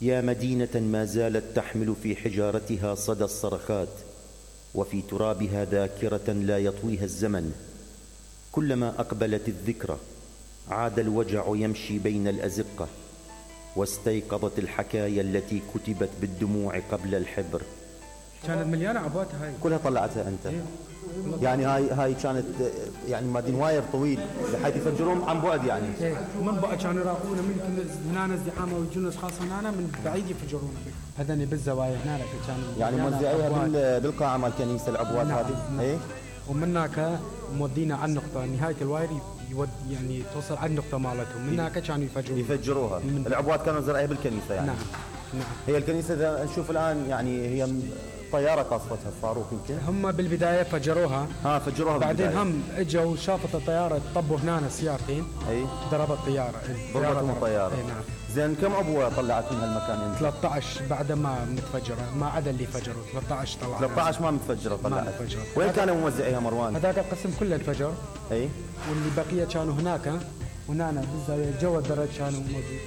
يا مدينة ما زالت تحمل في حجارتها صدى الصرخات، وفي ترابها ذاكرة لا يطويها الزمن. كلما أقبلت الذكرى عاد الوجع يمشي بين الأزقة، واستيقظت الحكايا التي كتبت بالدموع قبل الحبر. كانت مليانة عبوات هاي كلها طلعتها أنت؟ إيه؟ يعني هاي كانت يعني مادين واير طويل بحيث يفجرون عن بعد يعني. إيه من بعد كانوا يراقبونا من هنا ازدحام ويجون اشخاص من هنا من بعيد يفجرونا. هذني بالزوايا هناك كانوا يعني موزعيها بالقاعة مال الكنيسة العبوات هذه. نعم. ايه ومن هناك مودينا على النقطة نهاية الواير يعني توصل على النقطة مالتهم، من هناك كانوا يفجروها. العبوات كانوا زرعيها بالكنيسة يعني. نعم. نعم. هي الكنيسة إذا نشوف الآن يعني هي طيارة قصفتها الصاروخ يمكن. هم بالبداية فجروها. فجروها بعدين بالبداية. هم اجوا شافت الطيارة طبوا هنا سيارتين. اي ضربت طيارة. ضربتهم الطيارة. اي نعم. زين كم عبوة طلعت من هالمكان انت؟ 13 بعد ما متفجرة، ما عدا اللي فجروا 13 طلعوا. 13 ما متفجرة طلعت. وين كانوا موزعيها مروان؟ هذاك القسم كله انفجر. اي واللي بقية كانوا هناك، هنا بالزاوية جوا الدرج كانوا موجودين.